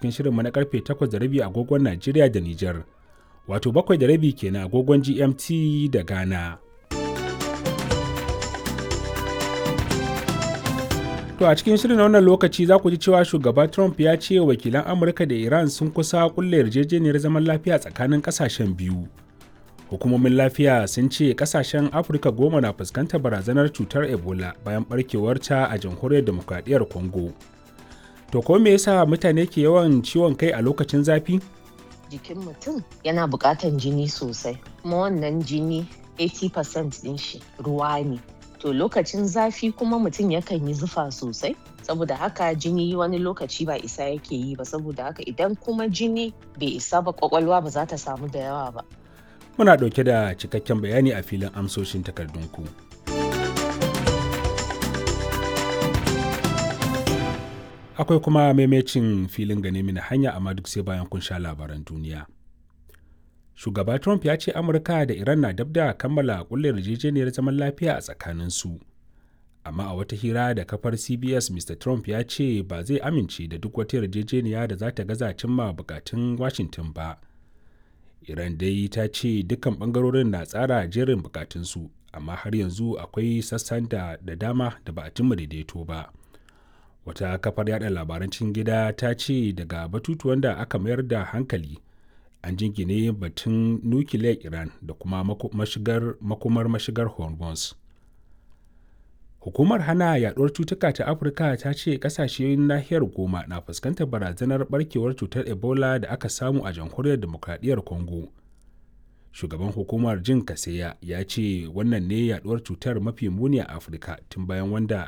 cikin shirinmu na karfe 8:30 agogon Najeriya da Nijar. Wato 7:30 kenan agogon GMT da Ghana. To a cikin shirin na wannan lokaci za ku ji cewa shugaba Trump ya ce wakilan Amurka da Iran sun kusa kulle yarjejeniyar zaman lafiya tsakanin kasashen biyu. Hukumomin lafiya sun ce kasashen Afirka 10 na fuskantar barazanar cutar Ebola bayan barkewarta a jamhuriyar demokradiyyar Congo. To ko me yasa mutane ke yawan ciwon kai a lokacin zafi? Jikin mutum yana buƙatan jini sosai, kuma wannan jini 80% ɗin shi ruwa ne. To lokacin zafi kuma mutum yakan yi zufa sosai, saboda haka jini wani lokaci ba isa yake yi ba, saboda haka idan kuma jini bai isa ba kwakwalwa ba za ta samu da yawa ba. Muna ɗauke da cikakken bayani a filin amsoshin takardunku. Akwai kuma maimacin filin gane mini hanya, amma duk sai bayan kun sha labaran duniya. Shugaba Trump ya ce Amurka da Iran na dab da kammala kulle yarjejeniyar zaman lafiya a tsakaninsu. Amma a wata hira da kafar CBS, Mr. Trump ya ce ba zai amince da duk wata yarjejeniya da za ta gaza cimma bukatun Washington ba. Iran dai ta ce dukkan bangarorin na tsara jerin bukatunsu, amma har yanzu akwai sassan da dama da ba a cimma daidaito ba. Wata kafar yada labaran cikin gida ta ce daga batutuwan da aka mayar da hankali an jingine batun nukiliyar Iran da kuma makomar mashigar Hormuz. Hukumar hana yaduwar cutuka ta Afirka ta ce kasashen nahiyar 10 na fuskantar barazanar barkewar cutar Ebola da aka samu a jamhuriyar demokradiyyar Congo. Shugaban hukumar, Jin Kaseya, ya ce wannan ne yaduwar cutar mafi muni a Afirka tun bayan wanda